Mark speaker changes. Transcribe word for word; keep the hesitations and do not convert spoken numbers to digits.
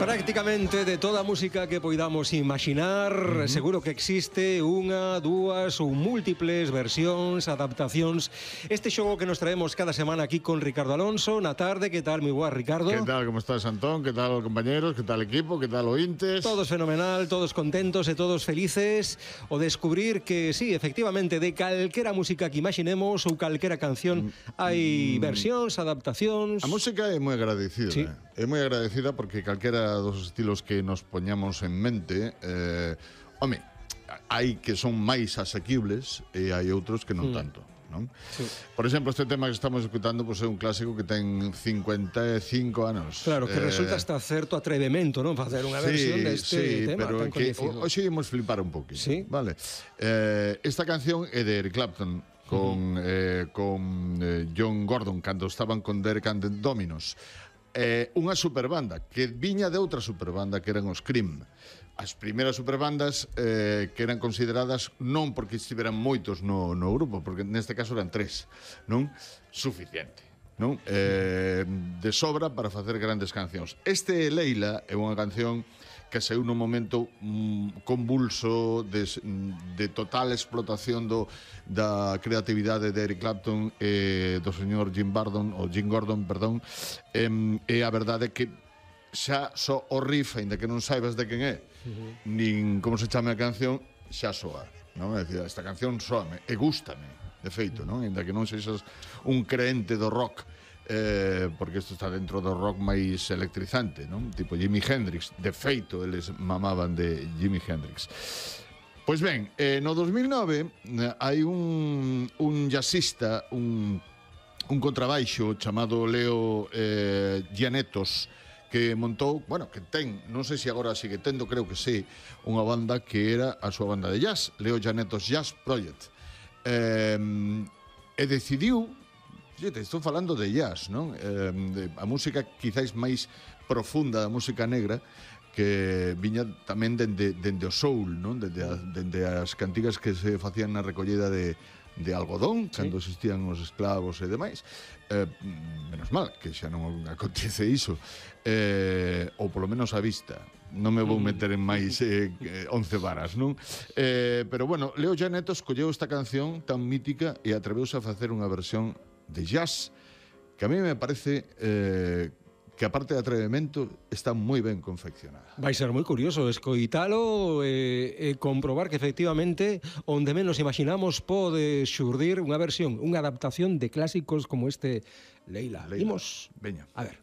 Speaker 1: Prácticamente de toda a música que poidamos imaginar, uh -huh. seguro que existe unha, dúas ou múltiples versións, adaptacións. Este xogo que nos traemos cada semana aquí con Ricardo Alonso na tarde. Que tal, mi boa, Ricardo?
Speaker 2: Que tal, como estás, Antón? Que tal, compañeros? Que tal, equipo? Que tal, ointes?
Speaker 1: Todos fenomenal, todos contentos e todos felices o descubrir que, sí, efectivamente, de calquera música que imaginemos ou calquera canción hai mm. versións, adaptacións.
Speaker 2: A música é moi agradecida, sí. eh? É moi agradecida porque calquera dos estilos que nos poñamos en mente, eh, home, hai que son máis asequibles e hai outros que non mm. tanto, non? Sí. Por exemplo, este tema que estamos escutando pues, é un clásico que ten cincuenta e cinco anos.
Speaker 1: Claro, que eh... resulta hasta certo atrevemento, non? Facer unha
Speaker 2: sí,
Speaker 1: versión deste
Speaker 2: sí,
Speaker 1: tema
Speaker 2: pero
Speaker 1: tan
Speaker 2: que
Speaker 1: coñecido.
Speaker 2: Hoxe imos flipar un poquito,
Speaker 1: sí.
Speaker 2: Vale? Eh, esta canción é de Eric Clapton con, uh -huh. eh, con eh, John Gordon cando estaban con Derek and the Dominos. Eh, unha superbanda que viña de outra superbanda que eran os Cream. As primeiras superbandas eh, que eran consideradas non porque estiveran moitos no, no grupo, porque neste caso eran tres, non? Suficiente, non? Eh, de sobra para facer grandes cancións. Este Leila é unha canción que saiu nun momento mm, convulso de, de total explotación do, da creatividade de Eric Clapton e do señor Jim Gordon, ou Jim Gordon, perdón, e, e a verdade é que xa só o riff, ainda que non saibas de quen é, uh -huh. nin como se chame a canción, xa soa, non? É dicir, esta canción soame e gústame, de feito, non? Ainda que non sexas un creente do rock, Eh, porque isto está dentro do rock máis electrizante, non? Tipo Jimi Hendrix. De feito, eles mamaban de Jimi Hendrix. Pois ben, eh, no dos mil nove eh, hai un, un jazzista, un, un contrabaixo chamado Leo eh, Gianettos, que montou, bueno, que ten, non sei se agora sigue tendo, creo que sí, unha banda que era a súa banda de jazz, Leo Gianettos Jazz Project. Eh, e decidiu, estou falando de jazz, non? Eh, de, a música quizáis máis profunda da música negra que viña tamén dende, dende o soul, non? Dende, a, dende as cantigas que se facían na recollida de, de algodón, sí. Cando existían os esclavos e demais. Eh, menos mal que xa non acontece iso. Eh, ou polo menos a vista. Non me vou meter en máis eh, once varas, non? Eh, pero bueno, Leo Gianettos colleu esta canción tan mítica e atreveuse a facer unha versión de jazz que a mí me parece eh, que a parte de atrevemento está moi ben confeccionada.
Speaker 1: Vai ser moi curioso escoitalo e, e comprobar que efectivamente onde menos imaginamos pode xurdir unha versión, unha adaptación de clásicos como este Leila.
Speaker 2: Leila.
Speaker 1: Imos,
Speaker 2: veña.
Speaker 1: A ver.